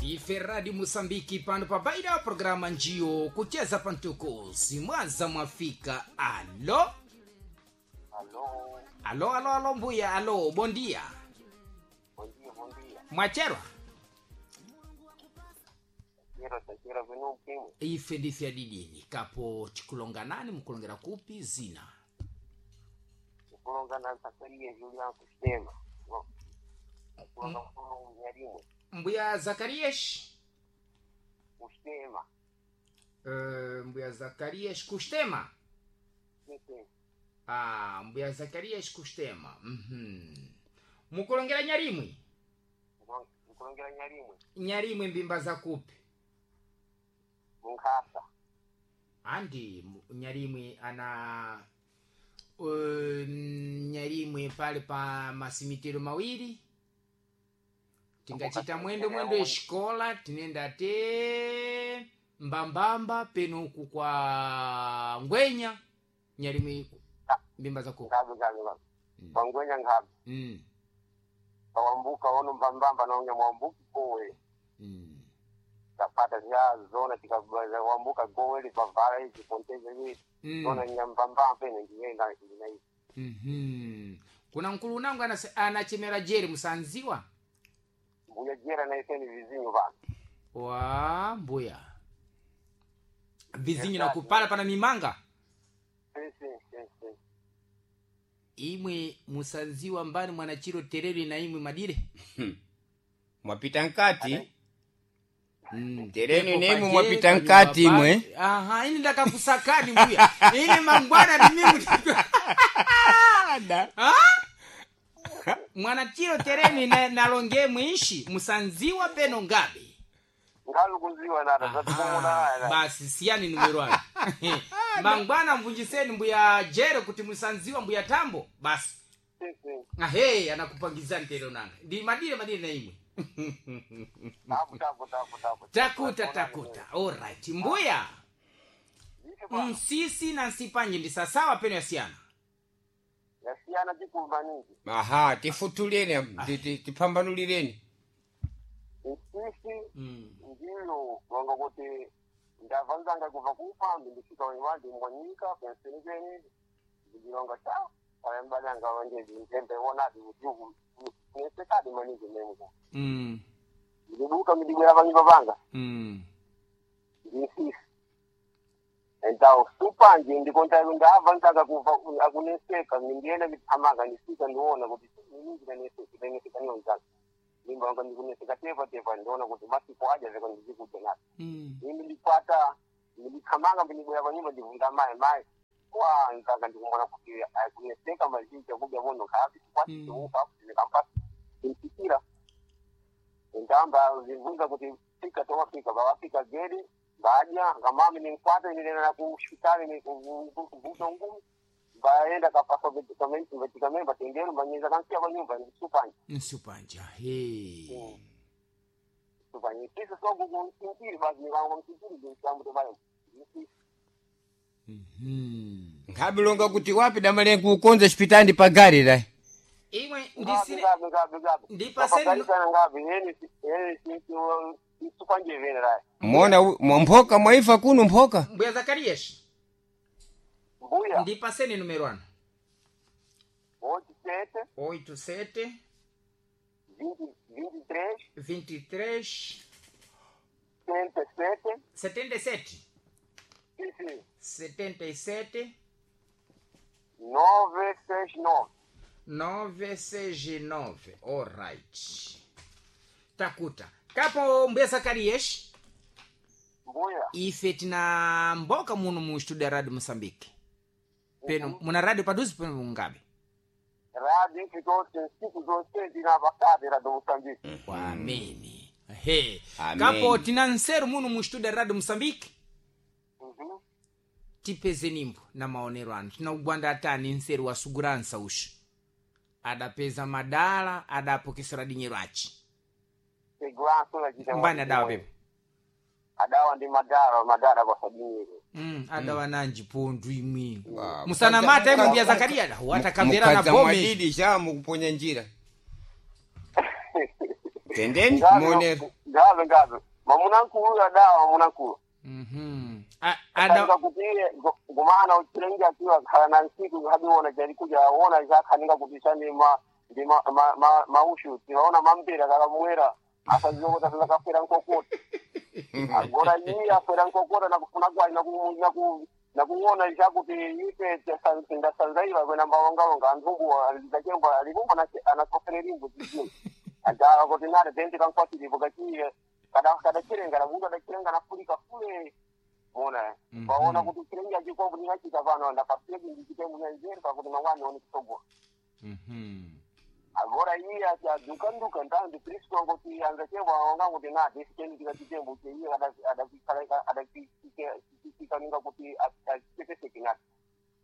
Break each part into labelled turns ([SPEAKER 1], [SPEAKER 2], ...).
[SPEAKER 1] Ndife Radio Mosambiki pano pa baida programa njiyo kucheza pantuko simwaza mwafika. Alo.
[SPEAKER 2] Alô,
[SPEAKER 1] Alo, alo, alo mbuya, alo, bom dia.
[SPEAKER 2] bom dia, bom dia.
[SPEAKER 1] Mwacherwa.
[SPEAKER 2] Chero tachera vino ukimwi.
[SPEAKER 1] Ife ndife adidini kapo chikulonganani mukulongera kupi zina.
[SPEAKER 2] Kulonga na Zakaria Julian kusema. Kulonga mkono mnyarimwe.
[SPEAKER 1] Mbuya Zakarias.
[SPEAKER 2] Kusema.
[SPEAKER 1] Mbuya Zakarias Kustema.
[SPEAKER 2] Sim.
[SPEAKER 1] Ah, mbuya Zakarias Kustema. Mukulongera nyarimwe.
[SPEAKER 2] Kulongera nyarimwe.
[SPEAKER 1] Nyarimwe mbimba za kupi?
[SPEAKER 2] Munkhasa.
[SPEAKER 1] Andi nyarimwe ana nyarimwe pale pa masimitiro mawiri tingachita mwendo mwendo eshikola tinenda te mbambamba peno uku kwa ngwenya nyarimwe mbimba za kupi.
[SPEAKER 2] Ngabe ngabe ngabe. Wangwenya ngabe. Kawambuka ono mbambamba na mwambuki kowe. Kapata zya zona tikabaza wambuka gowe lipavala hizi ponteze hizi. Zona nyambambamba pene ndiyenda ndina hizi.
[SPEAKER 1] Kuna mkulu unangu anachemera jeri musanziwa
[SPEAKER 2] Mbuya jera na iseni vizinyo bana.
[SPEAKER 1] Wa mbuya vizinyo na kupala pana mimanga.
[SPEAKER 2] Sim, sim, sim, sim.
[SPEAKER 1] Imwe musanziwa mbani mwanachiro terere na imwe madire.
[SPEAKER 3] Mwapita nkati. Tereni
[SPEAKER 1] Pepo
[SPEAKER 3] nemwe
[SPEAKER 1] paje,
[SPEAKER 3] mwapita
[SPEAKER 1] panyumba
[SPEAKER 3] nkati imwe.
[SPEAKER 1] Aha, ini ndakakusakani mbuya. Ini mangwana ni mimi. Ha? Mwanachiro tereni na nalonge mwishi musanziwa peno ngabe.
[SPEAKER 2] Ngalu kuziwa nata zatikumuna haya.
[SPEAKER 1] Basi siyani numero anu. Mangwana mvunjiseni mbuya jere kuti musanziwa mbuya tambo basi.
[SPEAKER 2] Sim, sim.
[SPEAKER 1] Ahe, anakupangizani tero nanga. Ndi madire madire na imwe.
[SPEAKER 2] Tabu tabu tabu tabu.
[SPEAKER 1] Takuta takuta. Alright. Mbuya.
[SPEAKER 2] Ife bwana.
[SPEAKER 1] Msisi na nsipanje ndi sasawa peno yasiyana.
[SPEAKER 2] Yasiyana chikulu maningi.
[SPEAKER 3] Aha, tifutuleni, tipambanulireni.
[SPEAKER 2] Nsisi ndiyo wanga kuti ndavanzanga kubva kupambi ndisvika wandi mwanyika penseni pene ndilonga cha ayambalanga wanje ntembe wonadi kuti kunesekadi maningi memko. Ndibuka midibwera panyumba panga. Ndisisi. Então, supanje ndikonta ndavanzanga kubva akuneseka ndiyenda ndithamanga ndisvika ndiona kuti iningi ndaneseka ndaneseka niyonzanga. Ndimba wanga ndikuneseka tepa tepa ndiona kuti masiku aja zeko ndizikuja napo. Imi ndikwata ndikhamanga ndibwera panyumba ndivunga mayi mayi kwa nzanga ndikumona kuti akuneseka mazhinji akudya vono nkhapi kwatiuka ndikampasa ndimfikira ndamba zivunza kuti fika towafika vawafika gedi vadya ngamami ninkwata inenena kushitali kuvuta ngumi vaenda kapasa vatikamemba tendero manyeza kansiya panyumba ndisupanja.
[SPEAKER 1] Nsipanja. He.
[SPEAKER 2] Supanja sisi sokukumsinkiri basi nikangokumsinkiri ndimsambuto vayo.
[SPEAKER 3] Nkhabilonga kuti wapi damalenga kukonza chipitandi pa gari la.
[SPEAKER 1] Imwe
[SPEAKER 2] Ngapi
[SPEAKER 1] ndisine
[SPEAKER 2] ngapi ngapi ngapi.
[SPEAKER 1] Ndipaseni-
[SPEAKER 2] Ndipaseni ngapi yeni yeni sinti supanje vene rai.
[SPEAKER 3] Mona mwa mphoka mwaifa kuno mphoka.
[SPEAKER 1] Mbuya Zakarias.
[SPEAKER 2] Mbuya
[SPEAKER 1] Ndipaseni numero anu.
[SPEAKER 2] 87
[SPEAKER 1] 87
[SPEAKER 2] 20 23
[SPEAKER 1] 23
[SPEAKER 2] 77
[SPEAKER 1] 77
[SPEAKER 2] sim
[SPEAKER 1] 77
[SPEAKER 2] 969.
[SPEAKER 1] 969. Alright. Takuta. Kapo mbuya Zakarias.
[SPEAKER 2] Mbuya
[SPEAKER 1] Ife tina mboka muno mu studio ya Radio Mosambiki. Peno muna radio paduzi peno mungabe.
[SPEAKER 2] radio fitose siku zonse ndinapakati radio Mosambiki.
[SPEAKER 1] Ameni. He.
[SPEAKER 3] Ameni.
[SPEAKER 1] Kapo tina nseru muno mu studio ya Radio Mosambiki. Tipeze nimbo na maonero anu tina ugwanda atani nseru wa suguransa ushu adapeza madala adapokesera dinyero achi
[SPEAKER 2] Segurança la jita.
[SPEAKER 1] mbani adawa pepo.
[SPEAKER 2] Adawa ndi madara madara kwa sabini.
[SPEAKER 1] Adawa nanji pondu imwe
[SPEAKER 3] Wa,
[SPEAKER 1] musana mata imwe mbuya Zakaria da watakambera na
[SPEAKER 3] Mukadza
[SPEAKER 1] bome
[SPEAKER 3] mwadidi cha mukuponya njira. Tendeni
[SPEAKER 2] Ngapi
[SPEAKER 3] monero.
[SPEAKER 2] Ngabe ngabe. Mamunankulu ya dawa mamunankulu.
[SPEAKER 1] Mhm. Ada
[SPEAKER 2] Ada kuti ngumana uchilenga kiwa khala na nsiku hadiona jali kuja ona zakhaninga kuti chani ma ndi ma ma, ma, maushu tiwaona mambira kala mwera asazokota zakafera nkokota. Agora yi afera nkokota na kufuna kwa na ku na ku na kuona chakuti ife ndasanzaiva kwena mbawongalonga anthumbu alizachembo alivumba anasofere limbo chichini ajawa kuti nare dente kankwatiripo kachiye kadachirenga namundu adachirenga nafurika fule mona vaona kuti chirenga chikombo ndingachita pano ndakafike ndichite munyanzeri pakuti mangwani one kusogola
[SPEAKER 1] Mhm.
[SPEAKER 2] agora iye ati adukanduka ntandi kristu angoti anzachembo aonga kuti nati isikeni tikachitembo cheiye adachiikaninga kuti achichepeseke nati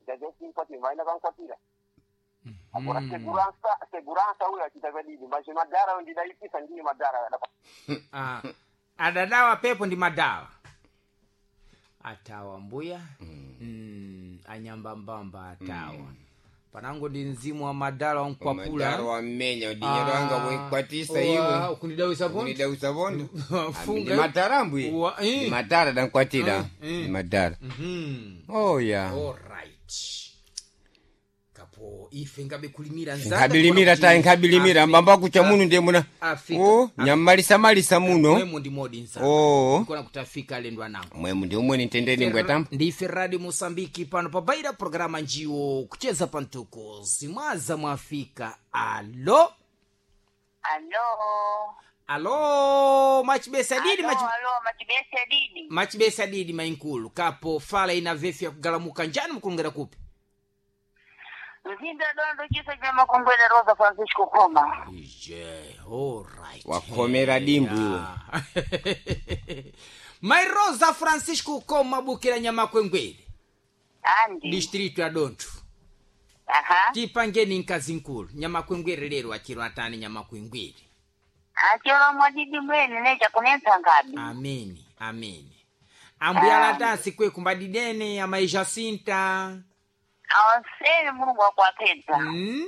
[SPEAKER 2] ndachesinkwatira vaina kankwatira agora segurança segurança uyo achita kadidi mache madhara ndidaipisa ndiye madhara
[SPEAKER 1] Ah, adadawa pepo ndi madawa atawa mbuya anyambambamba atawa panango ndi mzimu wa madala
[SPEAKER 3] Madara
[SPEAKER 1] wankwapula
[SPEAKER 3] wamenya udinyero wanga wenkwatisa iwe
[SPEAKER 1] ukundidawisa pondi
[SPEAKER 3] unidausa vondo
[SPEAKER 1] Funga.
[SPEAKER 3] ndi matara mbwi
[SPEAKER 1] Wa- eh.
[SPEAKER 3] ndi matara dankwatira
[SPEAKER 1] Eh.
[SPEAKER 3] ndi matara
[SPEAKER 1] Mhm.
[SPEAKER 3] oya
[SPEAKER 1] Alright. Kapo ife ngabe kulimira nzanga
[SPEAKER 3] nkabilimira
[SPEAKER 1] kuona
[SPEAKER 3] tayi
[SPEAKER 1] kuti
[SPEAKER 3] nkabilimira mbamba kucha muno ndiye muna
[SPEAKER 1] Afika.
[SPEAKER 3] o nyammalisa-malisa muno
[SPEAKER 1] mwemo ndi modi nzanga
[SPEAKER 3] oo
[SPEAKER 1] kuona kuti afika alendo anango
[SPEAKER 3] mwemu ndi umwe nitendeni mbwetamba
[SPEAKER 1] ndife radio mosambiki pano pabaira programa njiwo kucheza pantuko zimwaza mwafika alo
[SPEAKER 4] Alo.
[SPEAKER 1] alo machibesa didi
[SPEAKER 4] Alo, alo, machibesa didi.
[SPEAKER 1] machibesa didi mainkulu kapo fala ina vefu ya kugalamuka njani mkulungera kupi
[SPEAKER 4] Mzinda dondo chisa cha makongwele Rosa Francisco Koma.
[SPEAKER 1] ije alright
[SPEAKER 3] Wakhomera dimbu iwe.
[SPEAKER 1] Mai Rosa Francisco Koma bukira nyamakwengwere
[SPEAKER 4] Andi.
[SPEAKER 1] distrito ya Dontho
[SPEAKER 4] Aha.
[SPEAKER 1] tipangeni nkazi nkulu nyamakwengwere lero achiro atani nyamakwengwere
[SPEAKER 4] Achero mwadidi mwene necha kunensa ngabi.
[SPEAKER 1] ameni ameni ambuya latasi kwe kumbadidene amai Jacinta
[SPEAKER 4] Awasele Mulungu akwapedza.
[SPEAKER 1] mm?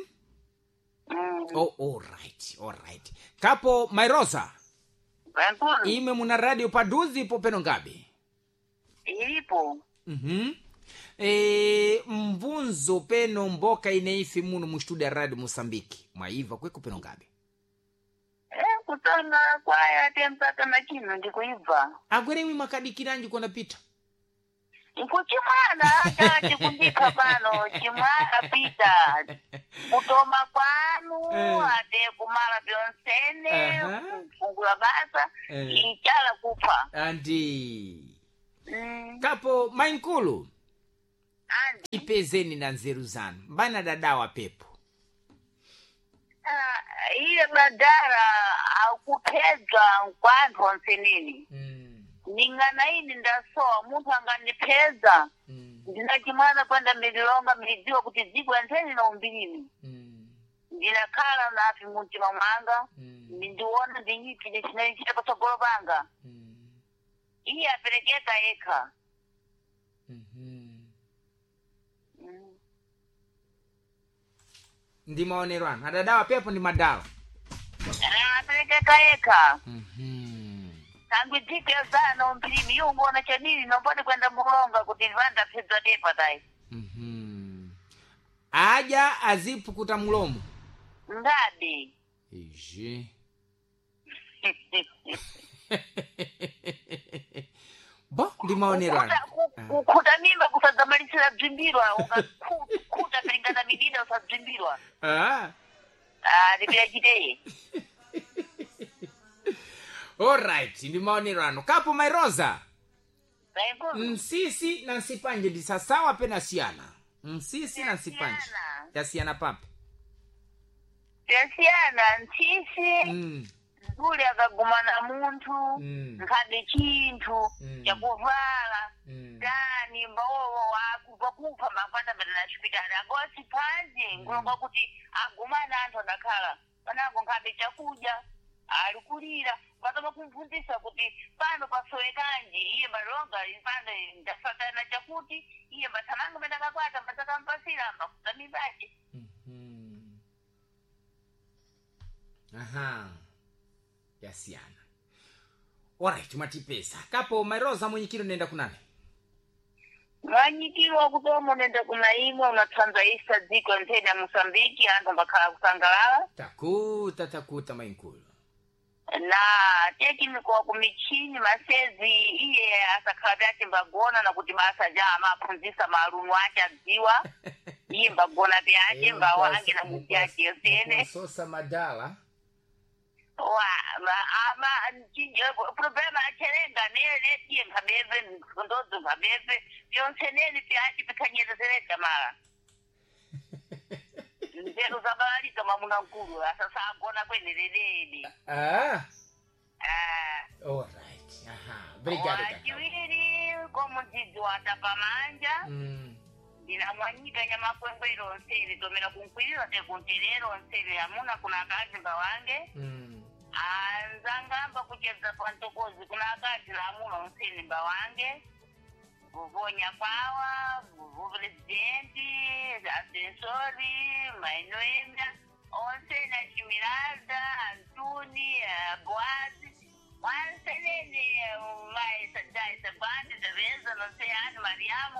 [SPEAKER 4] Mm.
[SPEAKER 1] oh, alright alright kapo mai Rosa
[SPEAKER 4] Wenkulu.
[SPEAKER 1] imwe muna radio paduzi ipo peno ngabe
[SPEAKER 4] Ilipo.
[SPEAKER 1] mm mvunzo peno mboka ineifi muno mu studio ya radio Mosambiki mwaiva kweko peno ngabe
[SPEAKER 4] Eh, kutanga kwaya te mpaka na chino ndikuibva.
[SPEAKER 1] agwere imwe mwakadikiranji kona pita
[SPEAKER 4] Nkuchimwana ata chikundika pano chimwana pita. Kutoma kwanu
[SPEAKER 1] Eh.
[SPEAKER 4] ate kumala byonsene
[SPEAKER 1] Aha.
[SPEAKER 4] kufungula basa
[SPEAKER 1] Eh.
[SPEAKER 4] ichala kupha.
[SPEAKER 1] andi
[SPEAKER 4] Mm.
[SPEAKER 1] kapo mainkulu
[SPEAKER 4] Andi.
[SPEAKER 1] ipezeni na nzeru zanu mbana dadawa pepo
[SPEAKER 4] Ah, iye badara akuphedza nkwanthu onseneni ning'ana ini ndasowa munthu angandiphedza ndina chimwana kwenda mililonga milidziwa kuti dziko yantheni na umbilimi ndinakhala nafi mumtima mwanga ndiona ndinyipi ndichinaichita patsogolo panga iye aperekeka yekha.
[SPEAKER 1] Ndi maonero anu adadawa pepo ndi madawa
[SPEAKER 4] Ah, aperekeka yekha kangwi dziko yazana umbilimi iwo ungoona chanini nomboni kwenda mulonga kuti vandaphedza tepa tayi.
[SPEAKER 1] Aja azipukuta mulomo
[SPEAKER 4] Ngabe.
[SPEAKER 1] ije bo ndi maonero anu
[SPEAKER 4] Kukhuta mimba kusadzamalisira bzimbirwa ukakhuta pilingana midida usabzimbirwa.
[SPEAKER 1] Ah.
[SPEAKER 4] Ah, ndipirachiteye.
[SPEAKER 1] Alright ndi maonero anu kapo mairosa
[SPEAKER 4] Vaingulu.
[SPEAKER 1] msisi na nsipanje ndi sasawa pena siyana msisi na nsipanje
[SPEAKER 4] Yasiyana.
[SPEAKER 1] yasiyana papi
[SPEAKER 4] Yasiyana ntsisi ndule akagumana munthu nkhabe chinthu chakuvala tani mbawowo wakubva kupha makwata mbena chipitali agosi panji ngulonga kuti agumana anthu adakhala panango nkhabe chakudya ali kulira patoma kumphunzisa kuti pano pasowekanji iye mbalonga pano ndasatana chakuti iye mbathamanga mbendakakwata mbatakampasira mbakuta mimbace.
[SPEAKER 1] Aha yasiyana. Alright, mwatipesa kapo mairosa mwenyikiro nenda kunani?
[SPEAKER 4] Mwanyikiro kutomo nenda kunaimwa unatsanzaisa dziko nthene ya Mosambiki anthu ambakhala kusangalala.
[SPEAKER 1] Takuta takuta mainkulu.
[SPEAKER 4] Na tekimikowa kumichini masezi iye asakhala pyace mbagona nakuti basa ja amaphunzisa maalunu ace adziwa iye mbagona pyace mbawange na muti ace yosene.
[SPEAKER 1] Sosa madala.
[SPEAKER 4] Wa ama problema achelenga nele tiye nkhabeve ndodzo nkhabeve vyonseneni pyace pikhanyerezereka mala nzeru zabalalika mwamuna mkulu asasa agona kweneleleni.
[SPEAKER 1] Ah,
[SPEAKER 4] Ah.
[SPEAKER 1] alright. Aha, obrigado kaka.
[SPEAKER 4] Wachiwiri komudzidzi watapamanja. Ndinamwanyika nyamakwengwero onsene tomera kunkwirira tekunterero onsene amuna kuna akazi mbawange. Anzangamba kuchedza pantokozi kuna akazi lamuna onsene mbawange kuvonya kwawa kuvo presidenti asensori mainoenda onsene achimiranda antuni boazi wansenene maisadaisa bandi zaveza nonseyani mariamu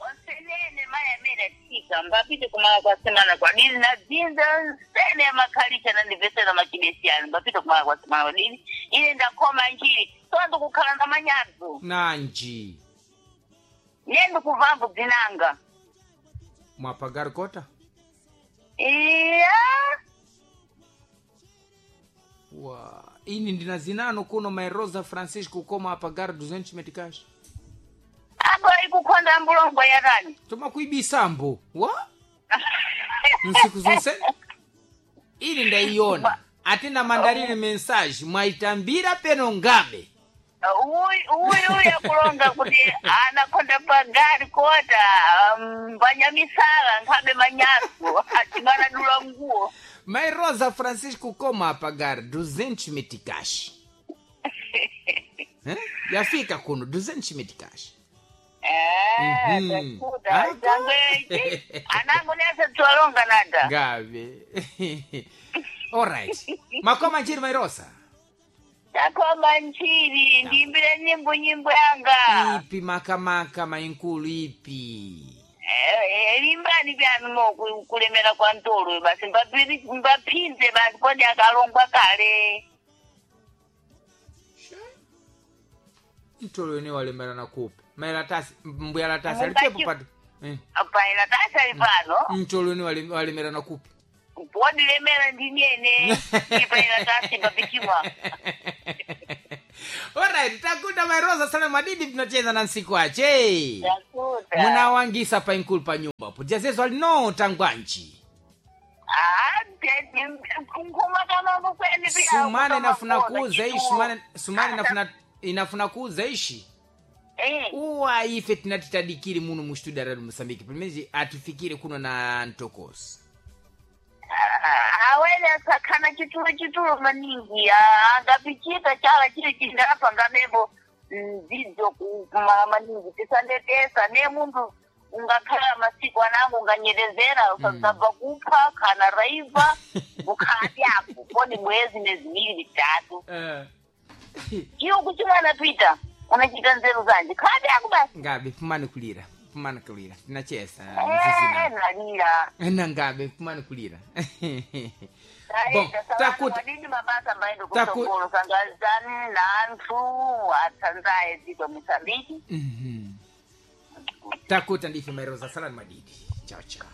[SPEAKER 4] onsenene mai amene atika mbapite kumala kwa semana kwadini na dzinza nsene yamakhalicha nandivesera machibesiyani mbapite kumala kwa semana kwadini ine ndakhoma njiri so ndikukhala na manyadzo.
[SPEAKER 1] Nanji.
[SPEAKER 4] Ne ndikuvambu dzinanga.
[SPEAKER 1] Mwapagar kota?
[SPEAKER 4] Iya.
[SPEAKER 1] Wa, ini ndina zinano kuno Mairosa Francisco koma apagar 200 meticais.
[SPEAKER 4] Apo ikukhonda mbulongo yatani?
[SPEAKER 1] Toma kuibisambo. Wa? Nsiku zonse? Ili ndaiona. Atina mandarine mensage mwaitambira peno ngabe.
[SPEAKER 4] Uyu uyu akulonga kuti anakhonda pagari kota mbanyamisala nkhabe manyaso achimanadula nguwo.
[SPEAKER 1] Mairosa Francisco koma apagar 200 meticais. Eh? Yafika kuno 200 meticais.
[SPEAKER 4] Eh,
[SPEAKER 1] Mhm.
[SPEAKER 4] takuda
[SPEAKER 1] Ako.
[SPEAKER 4] changwe anango nese twalonga nada.
[SPEAKER 1] Ngabe. Alright. Makoma njiri Mairosa.
[SPEAKER 4] Takoma nchiri ndimbire nyimbo nyimbo yanga.
[SPEAKER 1] Ipi makamaka mainkulu ipi?
[SPEAKER 4] Limbani byanu mo kulemera kwa ntolo basi mbapinze basi kodi akalongwa kale.
[SPEAKER 1] Mtolo wene walemera na kupi mailatasi mbuyalatasi alipepo pato. Eh.
[SPEAKER 4] Paila tasi ali pano.
[SPEAKER 1] Mtolo wene walemera na kupi?
[SPEAKER 4] Wadilemera ndinene ipaila tasi papichimwa.
[SPEAKER 1] Alright, takuta Mairosa sana madidi tunacheza na nsiku ache.
[SPEAKER 4] Takuta.
[SPEAKER 1] Munawangisa pa inkulu pa nyumba po. Jazezo alino tangwanji.
[SPEAKER 4] Ah, nkhuma kama kweni pia.
[SPEAKER 1] Sumane nafuna kuuza ishi sumane sumane nafuna inafuna kuuza ishi.
[SPEAKER 4] Eh.
[SPEAKER 1] Uwa ife tinatitadikiri muno mu studio radio Mosambiki. Pamene atifikire kuno na Ntokosi.
[SPEAKER 4] Awene asakhana chitulo chitulo maningi angapichita chala chili chindapa ngamebo mdzidzo kumala maningi tisandetesa ne munthu ungakhala masiku anango unganyerezera usadzabva kupha kana raiva kukhala apo kodi mwezi neziwiri mitatu. Iwo kuchimwana Peter unachita nzeru zanje khala ako basi.
[SPEAKER 1] Ngabe pumani kulira pumani kulira tinachesa
[SPEAKER 4] Eh, nalira.
[SPEAKER 1] Na ngabe pumani kulira. Bom, takuta
[SPEAKER 4] takuti mabasa maendo kusongolo sangazani nanthu atsanzaye dziko Mosambiki.
[SPEAKER 1] Takuta ndife Mairosa salani madidi. Chao chao.